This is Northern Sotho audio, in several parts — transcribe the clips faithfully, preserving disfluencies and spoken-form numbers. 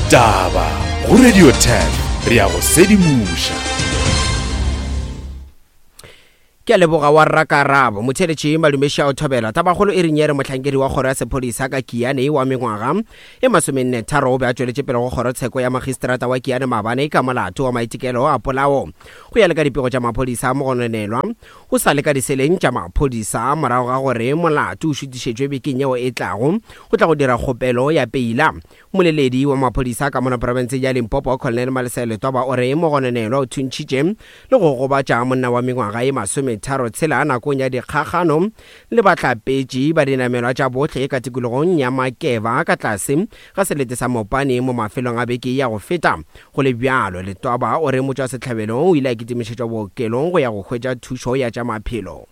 Ditaba go Radio ten re ya go sedimoša. Ke a leboga wa rrakarabo motheletši madumeši a o thobela. Tabakgolo e reng ye re mohlankedi wa kgoro ya sephodisa ka Kiane wa mengwaga e masomenne tharo o be a tšweletše pele go kgorotsheko ya magistrata wa Kiane maabane ka molato wa maitekelo a polao. Go ya le ka dipego tša maphodisa, mogononelwa o sa le ka diseleng tša maphodisa morago ga gore molato o šutišetšwe bekeng yeo e tlago go tla go dira kgopelo ya peila. Mmoleledi wa maphodisa ka mona profenseng ya Limpopo, Colonel Malesela Letwaba, o re mogononelwa o thuntšhitše le go gobatša monna wa mengwaga e masometharo tshela nakong ya dikgagano le bahlapetši ba dinamelwa tša bohle ka tikologong ya Makeva ka tlase ga selete sa Mopani mo mafelong a beke ya go feta. Go le bjalo, Letwaba o re motšwasehlabelo o ile a kitimišetšwa bookelong go ya go hwetša thušo ya tša maphelo.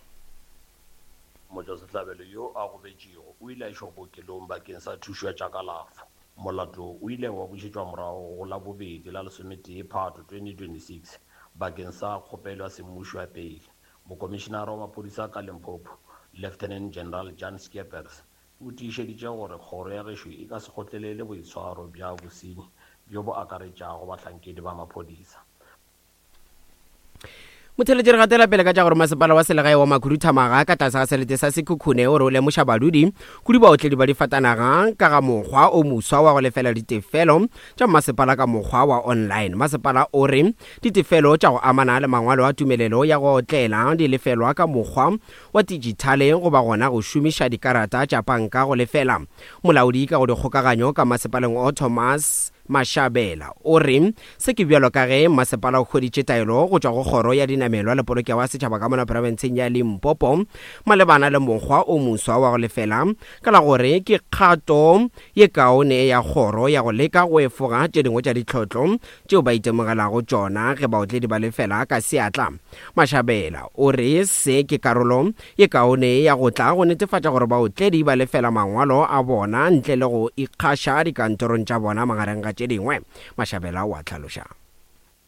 Motšwasehlabelo yo a gobetšego o ile a išwa bookelong bakeng sa thušo ya tša kalafo. Molato o ile wa bušetšwa morago go Labobedi la lesometee Phato twenty twenty-six bakeng sa kgopelo ya semmušo ya peile. Mokomišenara wa maphodisa ka Limpopo, Lieutenant General Jan Skeepers, o tiišeditše gore kgoro ya gešo e ka se kgotlelele boitshwaro bja bosenyi bjo bo akaretšago bahlankedi ba maphodisa. Motheletši re gatela pele ka tša gore masepala wa selegae wa Makhuduthamaga ka tlase ga selete sa Sekhukhune o re o lemoša badudi kudu baotledi ba difatanaga ka ga mokgwa o moswa wa go lefela ditefelo tša masepala ka mokgwa wa online. Masepala o re ditefelo tša go amana le mangwalo a tumelelo ya go otlela di lefelwa ka mokgwa wa dijithale goba gona go šomiša dikarata tša panka go lefela. Molaodi ka go dikgokaganyo ka masepaleng o Thomas Mashabela o re se ke bjalo ka ge masepala o hweditše taelo go tšwa go kgoro ya dinamelwa le polokego ya setšhaba ka mona profenseng ya Limpopo malebana le mokgwa o moswa wa go lefela ka la gore ke kgato ye kaone ya kgoro ya go leka go efoga tše dingwe tša ditlhotlo tšeo ba itemogelago tšona ge baotledi ba lefela ka seatla. Mashabela o re se ke karolo ye kaone ya go tla go netefatša gore baotledi ba lefela mangwalo a bona ntle le go ikgaša dikantorong tša bona magareng ga tše dingwe. Mashabela o a hlaloša.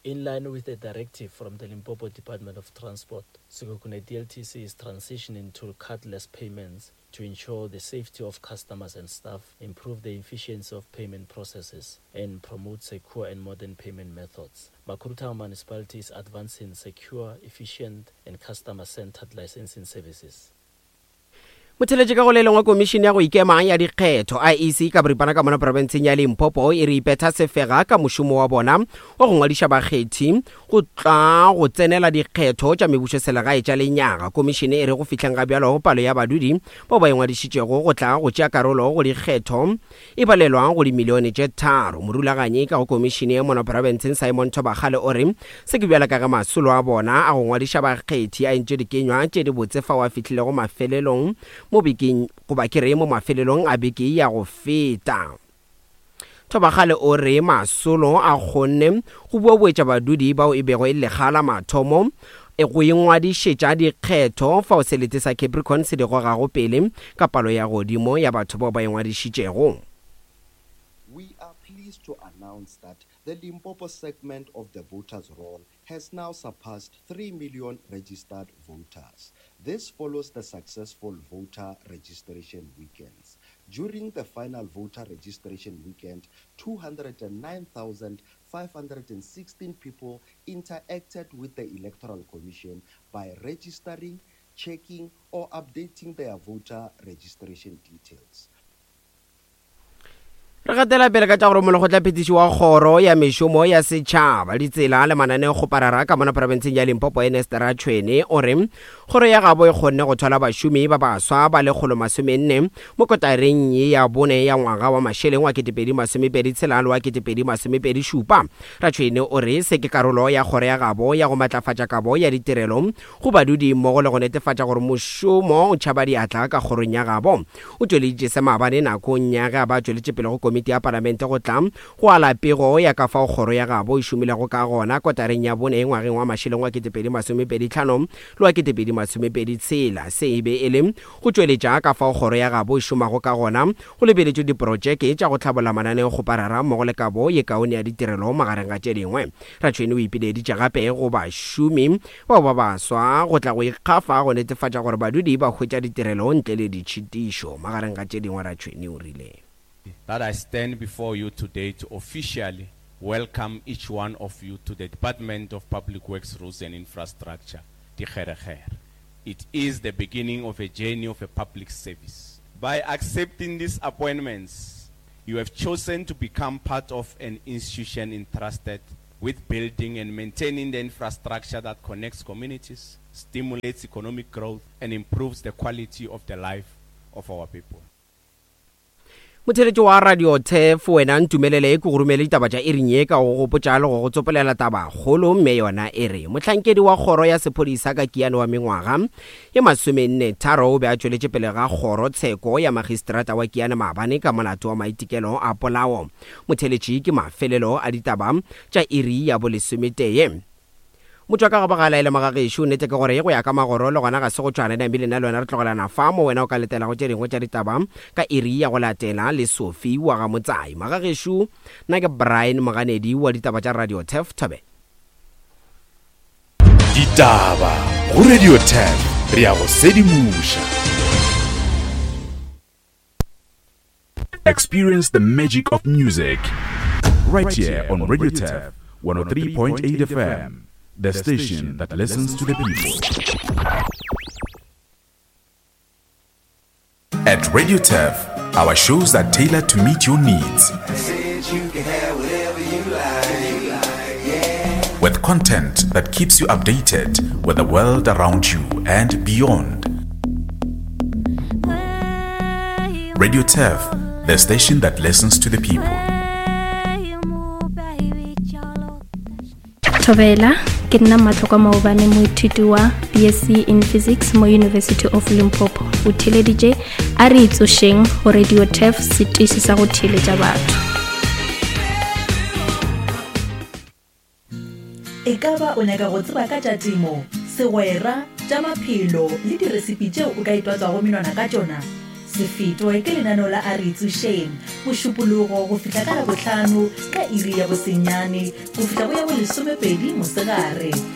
In line with a directive from the Limpopo Department of Transport, Sekhukhune D L T C is transitioning to cardless payments to ensure the safety of customers and staff, improve the efficiency of payment processes, and promote secure and modern payment methods. Makhuduthamaga Municipality is advancing secure, efficient, and customer-centered licensing services. Motheletši ka go le lengwe komišene ya go ikema ya dikgetho I E C ka boripana ka mona profenseng ya Limpopo e re ipetha sefega ka mošomo wa bona wa go ngwadiša bakgethi go tla go tsenela dikgetho tša mebušo selegae tša lenyaga. Komišene e re go fihleng ga bjalo palo ya badudi bao ba ingwadišitšego go tla go tšea karolo go dikgetho e balelwa go dimilione tše tharo. Morulaganyi ka go komišene mona profenseng Simon Thobakgale o re se ke bjalo ka ge masolo a bona a go ngwadiša bakgethi a entše dikenywa tše di botse fao a fihlilego mafelelong mo bekeng goba ke re mo mafelelong a beke ya go feta. Thobakgale o re masolo a kgonne go boaboetša badudi bao e bego e le lekga la mathomo go ingwadišetša dikgetho fao selete sa Capricorn se di gogago pele ka palo ya godimo ya batho bao ba ingwadišitšego. We are pleased to announce that the Limpopo segment of the voters' roll has now surpassed three million registered voters. This follows the successful voter registration weekends. During the final voter registration weekend, two hundred nine thousand five hundred sixteen people interacted with the Electoral Commission by registering, checking, or updating their voter registration details. Re gatela pele ka tša gore molekgotlaphethiši wa kgoro ya mešomo ya setšhaba ditsela le mananeokgoparara ka mona profenseng ya Limpopo Ernest Ratshwene o re kgoro ya gabo e kgonne go thwala bašomi ba baswa ba lekgolo masomenne mo kotareng ye ya bone ya ngwaga wa mašeleng wa ketepedi masomepedi tshela le wa ketepedi masomepedi šupa. Ratshwene o re se ke karolo ya kgoro ya gabo ya go matlafatša kabo ya ditirelo go badudi mmogo le go netefatša gore mošomo o tšhaba diatla ka kgorong ya gabo. O tšweleditše se maabane nakong ya ge a ba tšweletše pele go komiti ya palamente go tla go ala pego ya ka fao kgoro ya gabo e šomilego ka gona kotareng ya bone ngwageng wa mašeleng wa ketepedi masomepedi tlhano le wa ketepedi masomepedi tshela. Se e be e le go tšweletša ka fao kgoro ya gabo e šomago ka gona go lebeletšwe diprotšeke tša go hlabolla mananeokgoparara mmogo le kabo ye kaone ya ditirelo magareng ga tše dingwe. Ratshwene o ipileditše gape go bašomi bao ba baswa go tla go ikgafa go netefatša gore badudi ba hwetša ditirelo ntle le ditšhitišo. Magareng ga tše dingwe Ratshwene o rile: that I stand before you today to officially welcome each one of you to the Department of Public Works, Roads and Infrastructure, Dikgerekgere. It is the beginning of a journey of a public service. By accepting these appointments, you have chosen to become part of an institution entrusted with building and maintaining the infrastructure that connects communities, stimulates economic growth, and improves the quality of the life of our people. Motheletši wa Radio Turf, wena ntumelele ke go romele ditaba tša iring ye ka go gopotša le go go tsopolela taba kgolo, mme yona e re mohlankedi wa kgoro ya sephodisa ka Kiane wa mengwaga ye masomenne tharo o be a tšweletše pele ga kgoro tsheko ya magistrata wa Kiane maabane ka molato wa maitekelo a polao. Motheletši, ke mafelelo a ditaba tša iri ya bolesometee. Motho ka go bagala ele magagešo, nnete ke gore go ya ka magoro le gona ga se go tšwana. Namile nna le wena re tlogelana fa mo wena o ka letelago tše dingwe tša ditaba ka iri ya go latela le Sophie wa ga Motsai. Magagešo, nna ke Brian Moganedi wa ditaba tša Radio Turf. Thobe. Ditaba go Radio Turf, re ya go sedimoša. Experience the magic of music right here on Radio Turf one oh three point eight F M. The station that listens to the people. At Radio Turf, our shows are tailored to meet your needs. With content that keeps you updated with the world around you and beyond. Radio Turf, the station that listens to the people. Thobela, ke nna Matlokwa Maobane, moithuti wa B S C in Physics mo University of Limpopo. O theeleditše a re itsošeng go Radio Turf, setiši sa go theeletša batho. E ka ba o nyaka go tseba ka tša temo, segwera, tša maphelo le diresipi tšeo o ka itwatswago menwana ka tšona? Se fetwe ke lenaneo la a re itsošeng mošupologo go fihla ka Labohlano ka iri ya bosenyane go fihla go ya bolesomepedi mosegare.